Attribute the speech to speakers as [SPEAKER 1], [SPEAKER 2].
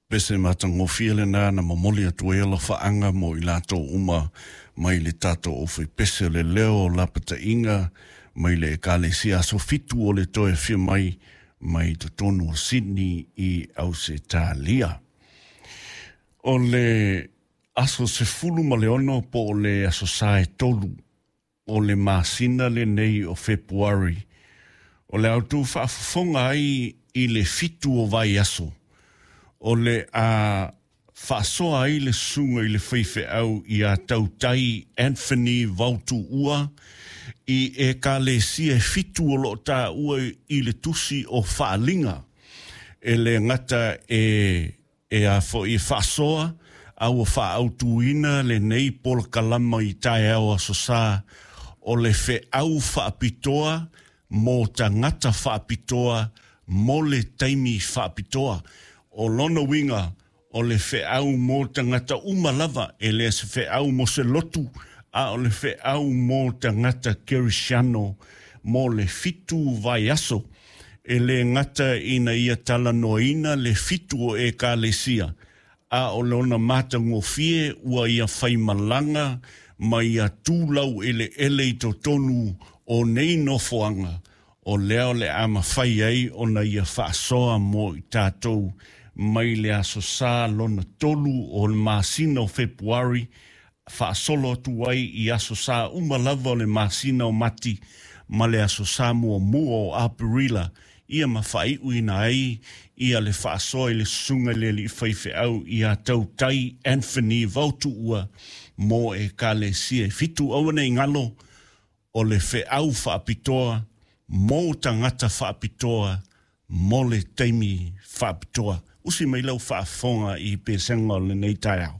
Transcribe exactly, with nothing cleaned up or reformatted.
[SPEAKER 1] Pese matagofie lena na momoli atu ai alofaaga mo i latou uma mai le tatou aufaipese o le leo o lapataiga mai le Ekalesia Aso Fitu o le toe afio mai mai totonu o Sydney i Ausetalia. O le aso sefulu ma le ono po o le aso Sa e tolu o le masina lenei o Fepuari, o le autu faafofoga ai i le fitu o vaiaso, o le a faasoa ai le susuga i le faifeau ia Tautai Anthony Vautuua i Ekalesia e fitu o loo taua i le tusi o Faaliga. E le gata e e a foi e faasoa a ua faaautuina lenei polokalama i taeao aso Sa o le feau faapitoa mo tagata faapitoa mo le taimi faapitoa. O lona uiga o le feau mo tagata uma lava, e le se feau mo se lotu, a o le feau mo tagata kerisiano mo le fitu vaiaso. E le gata ina ia talanoaina le fitu o Ekalesia, a o lona matagofie ua ia faimalaga ma ia tulau eleele i totonu o nei nofoaga, o lea o le a mafai ai ona ia faasoa mo i tatou mai le aso Sa lona tolu o le masina o Fepuari, faasolo atu ai i aso Sa uma lava o le masina o Mati ma le aso Sa muamua o Aperila, ia ma faaiuina ai ia le faasoa i le susuga i le alii faifeau ia Tautai Anthony Vautuua mo Ekalesia e fitu. Aua nei galo, o le feau faapitoa mo tagata faapitoa mo le taimi faapitoa. Usi mai lau faafofoga i pesega o lenei taeao.